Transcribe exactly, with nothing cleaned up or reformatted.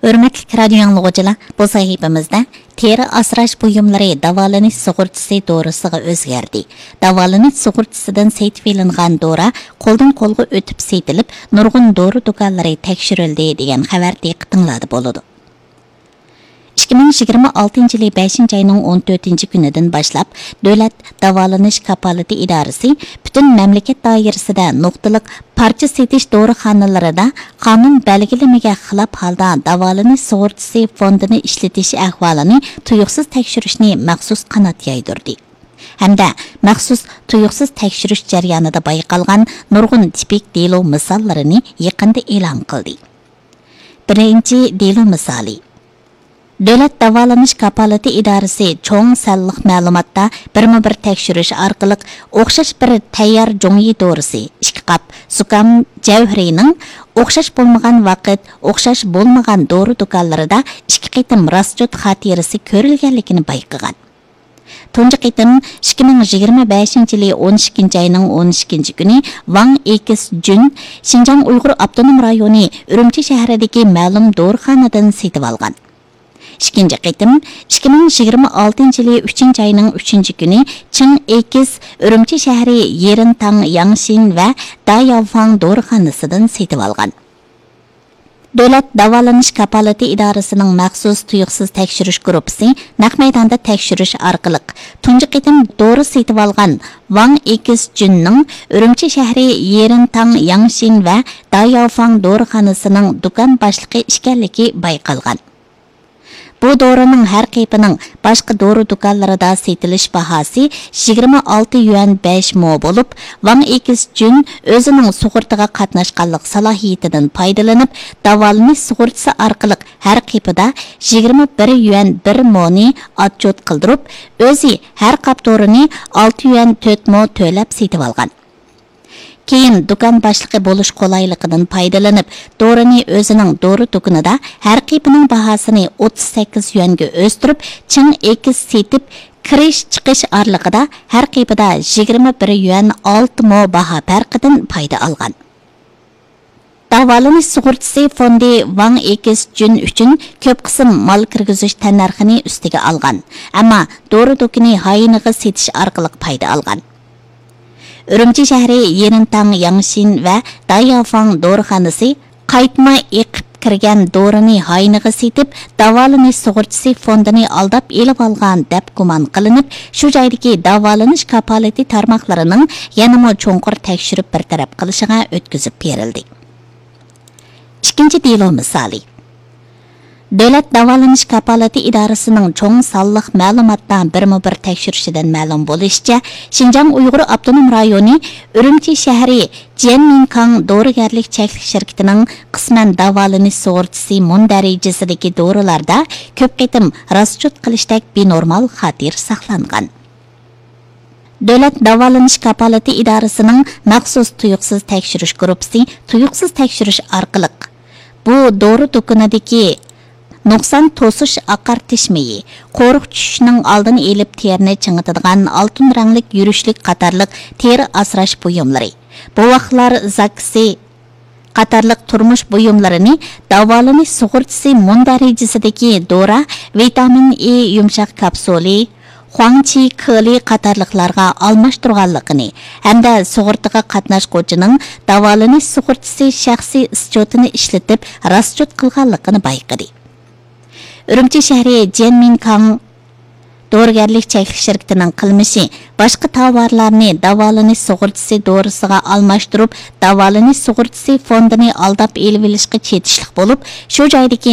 ھۆرمەتلىك رادىيو ئاڭلىغۇچىلار، بۇ سەھىپىمىزدە تېرە ئاسراش بۇيۇملىرى داۋالىنىش سۇغۇرتىسى دورىسىغا ئۆزگەردى. داۋالىنىش سۇغۇرتىسىدىن سېتىۋېلىنغان دورا قولدىن قولغا ئۆتۈپ سېتىلىپ، نۇرغۇن دورا دۇكانلىرى تەكشۈرۈلدى، دېگەن خەۋەر دىققىتىڭلاردا بولىدۇ. ئىككى مىڭ يىگىرمە ئالتىنچى يىلى بەشىنچى ئاينىڭ ئون تۆتىنچى كۈنىدىن باشلاپ، دۆلەت داۋالىنىش كاپالىتى ئىدارىسى پۈتۈن مەملىكەت دائىرىسىدە نۇقتىلىق پارچە سېتىش دورىخانىلىرىدا قانۇن بەلگىلىمىگە خىلاپ ھالدا داۋالىنىش سۇغۇرتىسى فوندىنى ئىشلىتىش ئەھۋالىنى تۇيۇقسىز تەكشۈرۈشنى مەخسۇس قانات يايدۇردى ھەمدە مەخسۇس تۇيۇقسىز تەكشۈرۈش جەريانىدا بايقالغان نۇرغۇن تىپىك دېلو مىساللىرىنى يېقىندا ئېلان قىلدى. بىرىنچى دېلو مىسالى. دۆلەت داۋالىنىش كاپالىتى ئىدارىسى چوڭ سانلىق مەلۇماتتا بىرمۇ بىر تەكشۈرۈش ئارقىلىق ئوخشاش بىر تەييار جۇڭيى دورىسى، ئىككى قاپ زۇكام جەۋھىرىنىڭ ئوخشاش بولمىغان ۋاقىت، ئوخشاش بولمىغان دورا دۇكانلىرىدا ئىككى قېتىم راسچوت خاتىرىسى كۆرۈلگەنلىكىنى بايقىغان. تۇنجى قېتىم ئىككى مىڭ يىگىرمە بەشىنچى يىلى ئون ئىككىنچى ئاينىڭ ئون ئىككىنچى كۈنى ۋاڭ ئېكس جۈن شىنجاڭ ئۇيغۇر ئاپتونوم رايونى ئۈرۈمچى شەھىرىدىكى مەلۇم دورىخانىدىن سېتىۋالغان. ئىككىنچى قېتىم ئىككى مىڭ يىگىرمە ئالتىنچى يىلى ئۈچىنچى ئاينىڭ ئۈچىنچى كۈنى چىڭ ئېكس ئۈرۈمچى شەھىرى يېرىنتاڭ ياڭشىن ۋە داياۋفاڭ دورىخانىسىدىن سېتىۋالغان. دۆلەت داۋالىنىش كاپالىتى ئىدارىسىنىڭ مەخسۇس تۇيۇقسىز تەكشۈرۈش گۇرۇپپىسى نەق مەيداندا تەكشۈرۈش ئارقىلىق، تۇنجى قېتىم دورا سېتىۋالغان ۋاڭ ئېكس جۈننىڭ ئۈرۈمچى شەھىرى يېرىنتاڭ ياڭشىن ۋە داياۋفاڭ دورىخانىسىنىڭ دۇكان باشلىقى ئىكەنلىكى بايقالغان. بۇ دورىنىڭ ھەر قېپىنىڭ باشقا دورا دۇكانلىرىدا سېتىلىش باھاسى يىگىرمە ئالتە يۈەن بەش مو بولۇپ، ۋاڭ ئېكس جۈن ئۆزىنىڭ سۇغۇرتىغا قاتناشقانلىق سالاھىيىتىدىن پايدىلىنىپ، داۋالىنىش سۇغۇرتىسى ئارقىلىق ھەر قېپىدا يىگىرمە بىر يۈەن بىر مونى ئاتچوت قىلدۇرۇپ، ئۆزى ھەر قاپ دورىنى ئالتە يۈەن تۆت مو تۆلەپ سېتىۋالغان. كېيىن دۇكان باشلىقى بولۇش قولايلىقىدىن پايدىلىنىپ، دورىنى ئۆزىنىڭ دورا دۇكىنىدا ھەر قېپىنىڭ باھاسىنى ئوتتۇز سەككىز يۈەنگە ئۆستۈرۈپ، چىڭ ئېكس سېتىپ، كىرىش چىقىش ئارىلىقىدا ھەر قېپىدا يىگىرمە بىر يۈەن ئالتە مو باھا پەرقىدىن پايدا ئالغان. داۋالىنىش سۇغۇرتىسى فوندى ۋاڭ ئېكس جۈن ئۈچۈن كۆپ قىسىم مال كىرگۈزۈش تەننەرخىنى ئۈستىگە ئالغان، ئەمما دورا دۇكىنى ھاينىغا سېتىش ئارقىلىق پايدا ئالغان. ئۈرۈمچى شەھىرى يېرىنتاڭ ياڭشىن ۋە داياۋفاڭ دورىخانىسى قايتما ئېقىپ كىرگەن دورىنى ھاينىغا سېتىپ، داۋالىنىش سۇغۇرتىسى فوندىنى ئالداپ ئېلىۋالغان دەپ گۇمان قىلىنىپ، شۇ جايدىكى داۋالىنىش كاپالىتى تارماقلىرىنىڭ يەنىمۇ چوڭقۇر تەكشۈرۈپ بىر تەرەپ قىلىشىغا ئۆتكۈزۈپ بېرىلدى. ئىككىنچى دېلو مىسالى. دۆلەت داۋالىنىش كاپالىتى ئىدارىسىنىڭ چوڭ سانلىق مەلۇماتتا بىرمۇ بىر تەكشۈرۈشىدىن مەلۇم بولۇشىچە، شىنجاڭ ئۇيغۇر ئاپتونوم رايونى ئۈرۈمچى شەھىرى جيەنمىنكاڭ دورىگەرلىك چەكلىك شىركىتىنىڭ قىسمەن داۋالىنىش سۇغۇرتىسى مۇندەرىجىسىدىكى دورىلاردا كۆپ قېتىم راسچوت قىلىشتەك بىنورمال خاتىرە ساقلانغان. دۆلەت داۋالىنىش كاپالىتى ئىدارىسىنىڭ مەخسۇس تۇيۇقسىز تەكشۈرۈش گۇرۇپپىسى تۇيۇقسىز تەكشۈرۈش ئارقىلىق، بۇ دورا دۇكىنىدىكى نۇقسان توسۇش ئاقارتىش مېيى، قورۇق چۈشۈشنىڭ ئالدىنى ئېلىپ تېرىنى چىڭىتىدىغان ئالتۇن رەڭلىك يۈرۈشلۈك قاتارلىق تېرە ئاسراش بۇيۇملىرى، بوۋاقلار زاكىسى، قاتارلىق تۇرمۇش بۇيۇملىرىنى داۋالىنىش سۇغۇرتىسى مۇندەرىجىسىدىكى دورا، ۋىتامىن ئې يۇمشاق كاپسۇلى، خۇاڭچى كېلى قاتارلىقلارغا ئالماشتۇرغانلىقىنى ھەمدە سۇغۇرتىغا قاتناشقۇچىنىڭ داۋالىنىش سۇغۇرتىسى شەخسىي ئىسچوتىنى ئىشلىتىپ راسچوت قىلغانلىقىنى بايقىدى. ئۈرۈمچى شەھىرى جيەنمىنكاڭ دورىگەرلىك چەكلىك شىركىتىنىڭ قىلمىشى باشقا تاۋارلارنى داۋالىنىش سۇغۇرتىسى دورىسىغا ئالماشتۇرۇپ، داۋالىنىش سۇغۇرتىسى فوندىنى ئالداپ ئېلىۋېلىشقا چېتىشلىق بولۇپ، شۇ جايدىكى